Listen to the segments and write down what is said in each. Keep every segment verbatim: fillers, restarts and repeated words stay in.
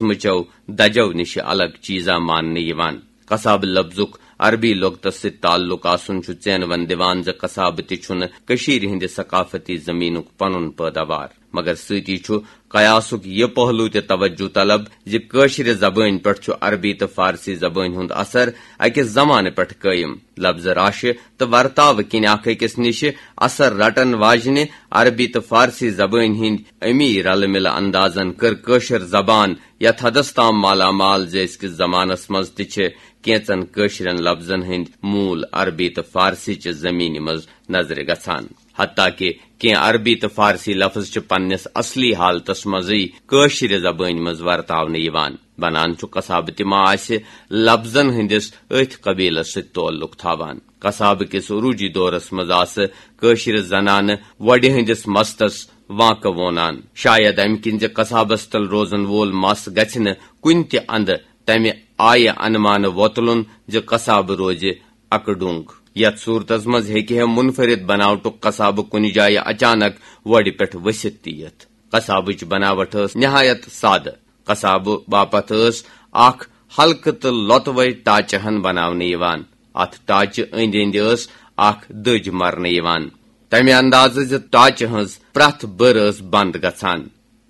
قٕسمٕچو دَجو نِشہِ الگ چیٖزا ماننہٕ یِوان۔ قصابہٕ لفظُک عربی لۄغتس سۭتۍ تعلق آسُن چھُ ژینوَن دِوان زِ قصابہٕ تہِ چھُنہٕ کٔشیٖرِ ہٕنٛدِ ثقافتی زٔمیٖنُک پنُن پٲداوار، مگر سۭتی چھُ قیاسُک یہِ پہلو تہِ توجہ طلب زِ کٲشرِ زبٲنۍ پٮ۪ٹھ چھُ عربی تہٕ فارسی زبٲنۍ ہُنٛد اثر أکِس زمانہٕ پٮ۪ٹھ قٲیِم۔ لفظ راشہِ تہٕ ورتاوٕ کِنۍ اکھ أکِس نِشہِ اثر رٹن واجنہِ عربی تہٕ فارسی زبٲنۍ ہٕنٛدۍ امی رلہٕ ملہٕ اندازن کٔر کٲشِر زبان یتھ حدس تام مالا مال زِ أزکِس زمانس منٛز تہِ چھِ کینژن کٲشرٮ۪ن لفظن ہٕنٛدۍ موٗل عربی تہٕ فارسی چہِ زمینہِ منٛز نظرِ گژھان۔ حتیٰ کہ کینٛہہ عربی تہٕ فارسی لفظ چھِ پننِس اصلی حالتس منٛزٕے کٲشرِ زبٲنۍ منٛز ورتاونہٕ یِوان۔ بنان چھُ قصابہٕ تہِ ما آسہِ لفظن ہٕنٛدِس أتھۍ قبیلس سۭتۍ تعلق تھاوان۔ قصابہٕ کِس عروٗجی دورس منٛز آسہٕ کٲشرِ زنانہٕ وۄڈِ ہٕنٛدِس مستس وانکہٕ وونان۔ شاید امہِ کِنۍ زِ قصابس تل روزن وول مس گژھِ نہٕ کُنہِ تہِ اندٕ تمہِ آیہِ انمانہٕ وۄتلُن زِ قصابہٕ روزِ اکہٕ ڈوٚنگ۔ یتھ صورتس منٛز ہیٚکہِ ہے منفرد بناوٹُک قصابہٕ کُنہِ جایہِ اچانک وۄڈِ پٮ۪ٹھ ؤسِتھ تہِ یِتھ۔ قصابٕچ بناوٹ ٲس نہایت سادٕ۔ قصابہٕ باپتھ ٲس اکھ ہلکہٕ تہٕ لۄتوے ٹاچہٕ ہن بناونہٕ یِوان۔ اتھ ٹاچہٕ أنٛدۍ أنٛدۍ ٲس اکھ دٔج مرنہٕ یِوان، تمہِ اندازٕ زِ ٹاچہٕ ہٕنٛز پرٛٮ۪تھ بٔر ٲس بند گژھان۔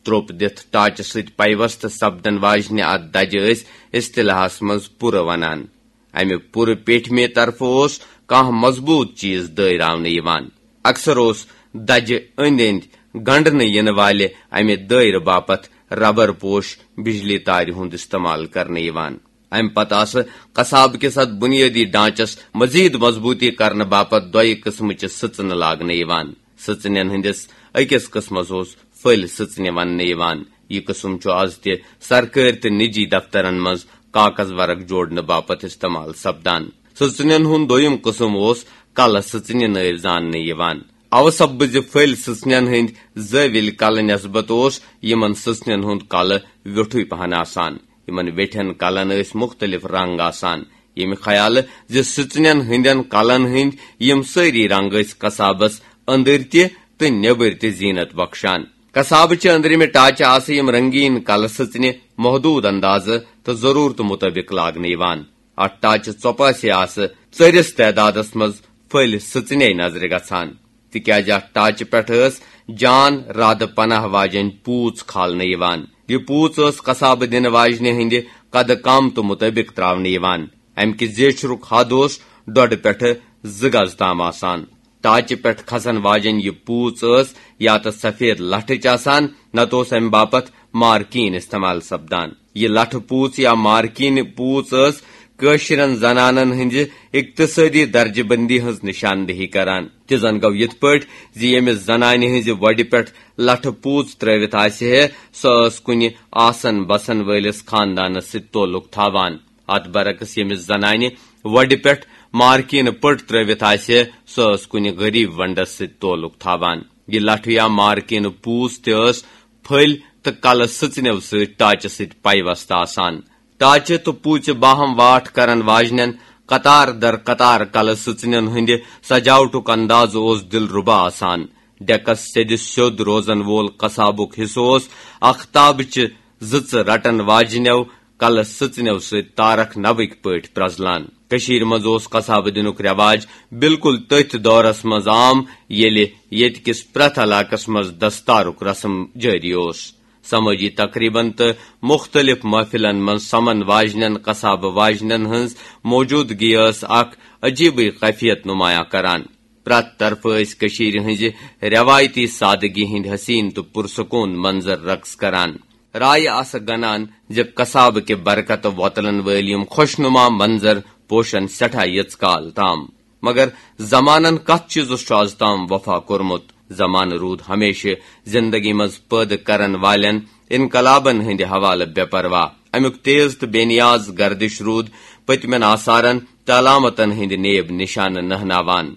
تروٚپ دِتھ ٹاچہٕ سۭتۍ پیوستہٕ سپدن واجنہِ اتھ دجہِ ٲسۍ اصطلاحس منٛز پُرٕ ونان۔ امہِ پُرٕ پیٹھمہِ طرفہٕ اوس کانٛہہ مضبوط چیز دٲیراونہٕ یِوان۔ اکثر اوس دجہِ أنٛدۍ أنٛدۍ گنڈنہٕ یِنہٕ والہِ امہِ دٲیرٕ باپتھ ربر پوش بجلی تارِ ہُنٛد استعمال کرنہٕ یِوان۔ امہِ پتہٕ آسہٕ قصابہٕ کِس اتھ بنیٲدی ڈھانچس مزید مضبوطی کرنہٕ باپتھ دۄیہِ قٕسمٕچہِ سٕژنہٕ لاگنہٕ یِوان۔ سٕژنٮ۪ن ہٕنٛدِس أکِس قٕسمس اوس پھٔلۍ سٕژنہِ وننہٕ یِوان۔ یہِ قٕسم چھُ از تہِ سرکٲرۍ تہٕ نجی دفترن منٛز کاغذ ورق جوڑنہٕ باپتھ استعمال سپدان۔ سٕژنٮ۪ن ہُنٛد دوٚیِم قٕسم اوس کلہٕ سٕژنہِ نٲوۍ زاننہٕ یِوان۔ اوٕ سببہٕ زِ پھٔلۍ سٕژنٮ۪ن ہٕنٛدۍ زٲوِلۍ کلہٕ نسبت اوس یِمن سٕژنٮ۪ن ہُنٛد کلہٕ ویوٚٹھُے پہن آسان۔ یِمن ویٹھٮ۪ن کلن ٲسۍ مُختٔلِف رنگ آسان، ییٚمہِ خیالہٕ زِ سٕژنٮ۪ن ہٕنٛدٮ۪ن کلن ہٕنٛدۍ یِم سٲری رنگ ٲسۍ قصابس أنٛدٕرۍ تہِ تہٕ نیٚبٕرۍ تہِ زیٖنت بخشان۔ قصابہٕ چہِ أنٛدرِمہِ ٹاچہِ آسہٕ یِم رنگیٖن کلہٕ سٕژنہِ محدوٗد اندازٕ تہٕ ضروٗرتہٕ مُطٲبِق لاگنہٕ یِوان۔ اتھ ٹاچہِ ژۄپاسے آسہٕ ژٔرِس تعدادس منٛز پھٔلۍ سٕژنے نظرِ گژھان، تِکیازِ اتھ ٹاچہِ پٮ۪ٹھ ٲس جان رادٕ پناہ واجیٚنۍ پوٗژ کھالنہٕ یِوان۔ یہِ پوٗژ ٲس قصابہٕ دِنہٕ واجنہِ ہٕنٛدِ قدٕ قامتہٕ مُطٲبِق تراونہٕ یِوان۔ امہِ کہِ زیچھرُک حد اوس ڈۄڈٕ پٮ۪ٹھٕ زٕ گز تام آسان۔ ٹاچہِ پٮ۪ٹھ کھسن واجیٚنۍ یہِ پوٗژ ٲس یا تہٕ سفید لٹھٕچ آسان، نتہٕ اوس امہِ باپتھ مارکیٖن استعمال سپدان۔ یہِ لٹھٕ پوٗژ یا مارکیٖن پوٗژ ٲس کٲشرٮ۪ن زنانن ہٕنٛزِ اقتصٲدی درجہٕ بندی ہٕنٛز نشاندہی کران۔ تہِ زن گوٚو یِتھ پٲٹھۍ زِ ییٚمِس زنانہِ ہٕنٛزِ وۄڈِ پٮ۪ٹھ لٹھٕ پوٗژ ترٲوِتھ آسہِ ہے، سۄ ٲس کُنہِ آسن بسن وٲلِس خاندانس سۭتۍ تعلق تھاوان۔ اتھ برعکس ییٚمِس زنانہِ وۄڈِ پٮ۪ٹھ مارکیٖنہٕ پٔٹ ترٲوِتھ آسہِ ہے، سۄ ٲس کُنہِ غریب ونڈس سۭتۍ تعلق تھاوان۔ یہِ لٹھٕ یا مارکیٖنہٕ پوٗژ تہِ ٲس پھٔلۍ تہٕ کلہٕ سٕژنیو سۭتۍ ٹاچہٕ سۭتۍ پیوستہٕ آسان۔ ٹاچہٕ تہٕ پوٗژِ باہم واٹھ کرن واجنٮ۪ن قطار در قطار کلہٕ سٕژنٮ۪ن ہٕنٛدِ سجاوٹُک انداز اوس دلربا آسان۔ ڈیکس سیٚدِ سیوٚد روزن وول قصابُک حصہٕ اوس اختابچہِ زٕژٕ رٹن واجنٮ۪و کلہٕ سٕژنیو سۭتۍ تارکھ نوٕکۍ پٲٹھۍ پرزلان۔ کٔشیٖرِ منٛز اوس قصابہٕ دِنُک رٮ۪واج بالکل تٔتھۍ دورس منٛز عام، ییٚلہِ ییٚتہِ کِس پرٛٮ۪تھ علاقس منٛز دستارُک رسم جٲری اوس۔ سمٲجی تقریبن تہٕ مُختٔلِف محفلن منٛز سمن واجنٮ۪ن قصابہٕ واجنٮ۪ن ہٕنٛز موجودگی ٲس اکھ عجیبٕے خفیت نمایاں کران۔ پرٛٮ۪تھ طرفہٕ ٲسۍ کٔشیٖرِ ہٕنٛزِ رٮ۪وایتی سادگی ہٕنٛدۍ حسیٖن تہٕ پُرسکوٗن منظر رقص کران۔ رایہِ آسہٕ گنان زِ قصابہٕ کہِ برکتہٕ وۄتلن وٲلۍ یِم خۄشنما منظر پوشن سٮ۪ٹھاہ یٔژ کال تام۔ مگر زمانن کتھ چیٖزس چھُ از تام وفا کوٚرمُت؟ زمانہٕ روٗد ہمیشہٕ زندگی منٛز پٲدٕ کرن والٮ۪ن انقلابن ہٕنٛدِ حوالہٕ بے پرواہ۔ امیُک تیز تہٕ بے نیاز گردش روٗد پٔتمٮ۪ن آثارن تہٕ علامتن ہٕنٛدِ نیب نشانہٕ نہناوان۔